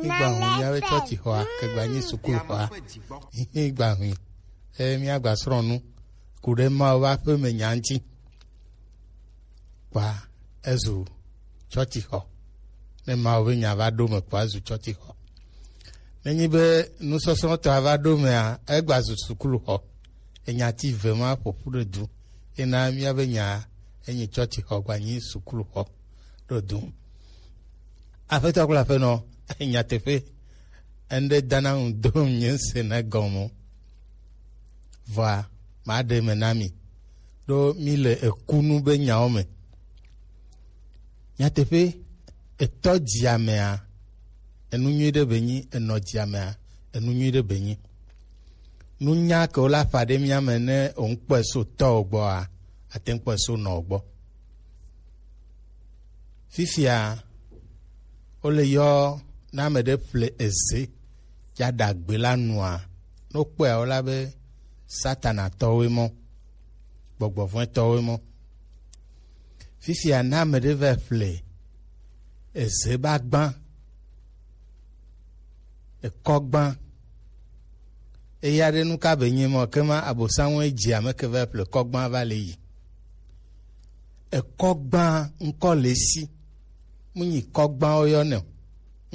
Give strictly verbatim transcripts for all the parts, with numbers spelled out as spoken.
Gba hu míabe tsɔtsixɔa kegba nyi sukuxɔa. Gba hu e míagba srɔ̃ nu ku ɖe Mawu ƒe aƒeme nya ŋuti. Kpa ezu tsɔtsixɔ. Ne Mawu ƒe nya va ɖo me kpa ezu tsɔtsixɔ. Nenyi be nusɔsrɔ̃tɔa va ɖo mea, egba zu sukuxɔ. Enya ti ve ma ƒoƒu ɖe du. Ena míabe nya enyi tsɔtsixɔ gba nyi sukuxɔ ɖo du. Aƒetɔ kple aƒenɔ, nyateƒe, eŋɖe dana ŋu dom nye se ne gɔme o. Vɔa, maɖe me na mi, ɖo mi le ekunu be nyawo me. Nyateƒe, etɔ dziamea, enu nyui ɖe be nyi, enɔ dziamea, enu nyui ɖe be nyi. Nunya ke wo la ƒa ɖe mía me ne òŋkpɔe so tɔwò gbɔa, ate ŋu kpɔe so nɔwò gbɔ. Fifia, wole yɔ ne ame ɖe ƒle eze ya ɖagbe la nua, ne wokpɔe wola be Satana tɔwoe mɔ, gbɔgbɔ vɔ̃e tɔwoe mɔ. Fifia ne ame ɖe va ƒle eze ba gbã, ekɔ gbã, eya ɖe nu ka be nye mɔ ke ma abosanwɔe dzi ame ke va ƒle kɔ gbã va le yi. Ekɔ gbã ŋkɔ le si. Mu nyi kɔ gbã woyɔ nɛ o.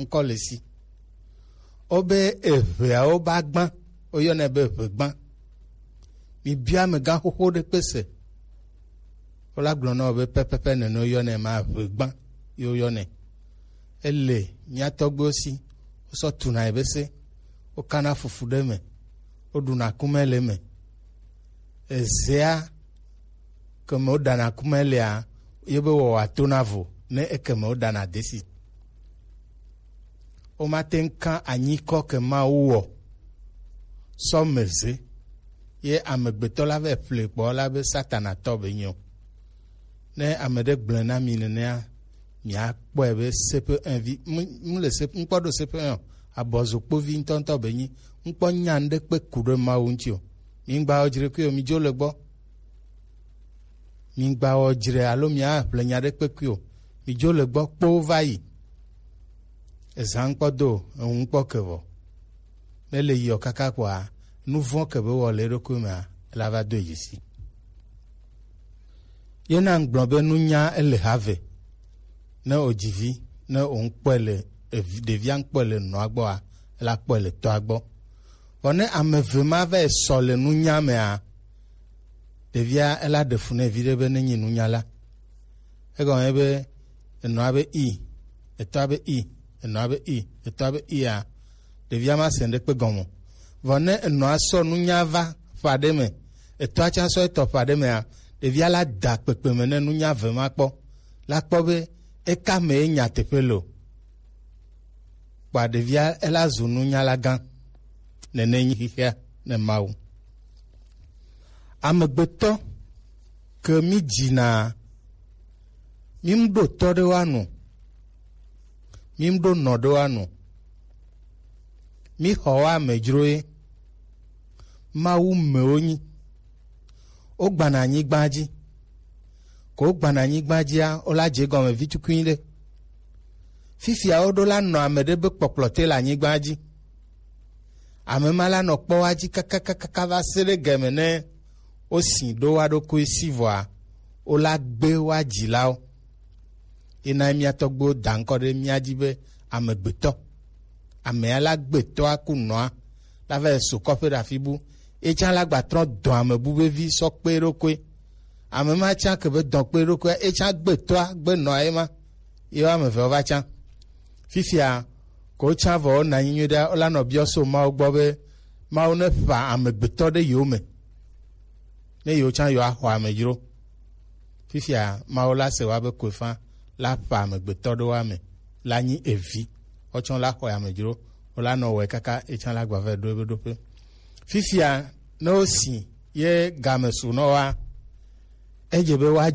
Ŋkɔ le si. Wobe eʋeawo ba gbã, woyɔnɛ be ʋegbã. Mibia amegã xoxo ɖe kpe se. Wola gblɔ na wo be pɛpɛpɛ nene woyɔnɛ ma ʋegbã ye woyɔnɛ. Ele mía tɔgbuiwo si, wosɔ tuna ebese, wokana fufu ɖe eme, woɖuna kumɛ le eme. Ezea ke me woɖana kumɛ lea, ye be wɔwɔ atona vo ne eke me woɖana desi. Womate ŋu ka anyikɔ ke Mawu wɔ sɔ me ze, ye amegbetɔ la vɛ ƒle kpɔ la be Satana tɔ be nyo. Ne ame ɖe gblɔe na mi nenea, miakpɔe be sepe envi mu le sepe ŋkpɔ ɖo sepe ɔ abɔzokpovi ŋutɔŋutɔ be nyi ŋkpɔ nya ɖe kpe ku ɖe Mawu ŋuti o. Mi ŋgba wɔ dzre kui o, mi dzo le gbɔ. Mi ŋgba wɔ dzre alo mia ƒle nya ɖe kpe kui o. Mi dzo le gbɔ kpo va yi. Ezã ŋkpɔ do eŋu ŋkpɔ ke vɔ. Ne le yiɔ kaka kpɔa, nu vɔ̃ ke be wɔ le eɖokui mea, ela va do edzi si. Ye na ŋgblɔ be nunya ele ha ve. Ne o dzivi, ne o ŋkpɔe le evi- ɖevia ŋkpɔe le nɔa gbɔa, ela kpɔe le tɔa gbɔ. Vɔ ne ame eve ma va yi sɔ le nunya mea, ɖevia ela ɖe fu ne vi ɖe be ne nyi nunyala. Egɔme be enɔa be i, etɔa be i, enɔa be i, etɔa be ia, ɖevia ma se ŋɖekpe gɔme o. Vɔ ne enɔa sɔ nunya va ƒe aɖe me, etɔa tsã sɔ etɔ ƒe aɖe mea, ɖevia la da kpekpe me ne nunya ve ma kpɔ, la kpɔ be eka me ye nyateƒe le o. Kpɔa ɖevia ela zu nunyala gã. Nene nyi xexea ne Mawu. Amegbetɔ ke mi dzina, mi mu ɖo tɔ ɖe wa nu, mi mu ɖo nɔ ɖe wa nu, mi xɔ wa amedzro ye. Mawu mewo nyi. Wogbana anyigba dzi. Ko wogbana anyigba dzia, wola dze gɔme vi tukui ɖe. Fifia woɖo la nɔ ame ɖe be kpɔkplɔ te le anyigba dzi. Ame ma la nɔ kpɔ wa dzi kakakaka va se ɖe gɛme ne wosi ɖo wa ɖokui si vɔa, wola gbe wa dzilawo. Ena mía tɔgbuiwo da ŋkɔ ɖe mía dzi be amegbetɔ. Amea la gbetɔa ku nɔa, la va yi so kɔƒe ɖe afi bu. Etsã la gba trɔ dɔ ame bu be vi sɔ kpe ɖokui. Ame ma tsã ke be dɔ kpe ɖokui, etsã gbetɔa gbe nɔa ye ma. Ye wo ame eve wo va tsã. Fifia, ko wotsã vɔ wona anyi nyuie ɖe, wola nɔ biɔ so Mawu gbɔ be Mawu ne ƒa amegbetɔ ɖe yewo me. Ne yewo tsã yewo axɔ amedzro. Fifia Mawu la se wa be koefa la ƒe amegbetɔ ɖewo ame la nyi evi. Wotsɔ la xɔe amedzro, wola nɔ wɔe kaka etsã la gba va ɖo ebe ɖoƒe. Fifia ne wosi ye game su nɔ wa, edze be woadzɔ